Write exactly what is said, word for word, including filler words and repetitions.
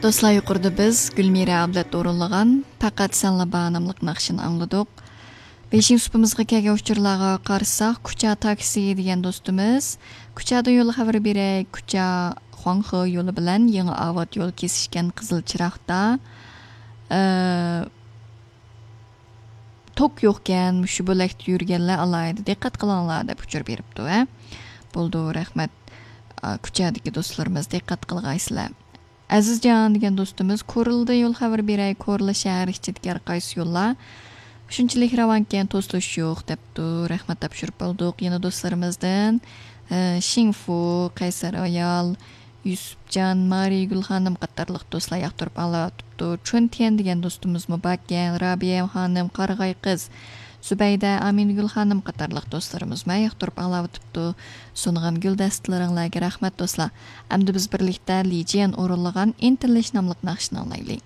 دوستلار، يۇقىرىدا بىز گۈلمىرە ئابلەت ئورۇنلىغان پەقەت سەنلا بار ناملىق ناخشىنى ئاڭلىدۇق. بېشىنچى سۇپىمىزغا كەلگەن ئۇچۇرلارغا قارىساق، كۇچا تاكسى دېگەن دوستىمىز، كۇچادىن يول خەۋىرى بېرەي، كۇچا خۇاڭخې يولى بىلەن يېڭى ئاۋات يول كېسىشكەن قىزىل چىراغدا، ئە، توك يوقكەن، مۇشۇ بۆلەكتە يۈرگەنلەر ئالاھىدە دىققەت قىلىڭلار دەپ ئۇچۇر بېرىپتۇ، ھە. بولدى، رەھمەت. ئا، كۇچادىكى دوستلىرىمىز دىققەت قىلغايسىلەر. ئەزىزجان دېگەن دوستىمىز، كورلىدا يول خەۋىرى بېرەي، كورلا شەھەر ئىچىدىكى ھەر قايسى يوللار شۇنچىلىك راۋانكەن، توسۇلۇش يوق دەپتۇ. رەھمەت، تاپشۇرۇپ بولدۇق. يەنە دوستلىرىمىزدىن، ئە، شىڭفۇ، قەيسەر ئايال، يۈسۈپجان، مارىگۈل خانىم قاتارلىق دوستلار ياقتۇرۇپ ئاڭلاۋاتىپتۇ. چۈنتيەن دېگەن دوستىمىزمۇ باركەن، رابىيە خانىم، قارىغاي قىز، زۇبەيدە، ئامىنگۈل خانىم قاتارلىق دوستلىرىمىزمۇ ياقتۇرۇپ ئاڭلاۋاتىپتۇ. سۇنغان گۈلدەستىلىرىڭلارغا رەھمەت، دوستلار. ئەمدى بىز بىرلىكتە لى جيەن ئورۇنلىغان ئىنتىلىش ناملىق ناخشىنى ئاڭلايلى.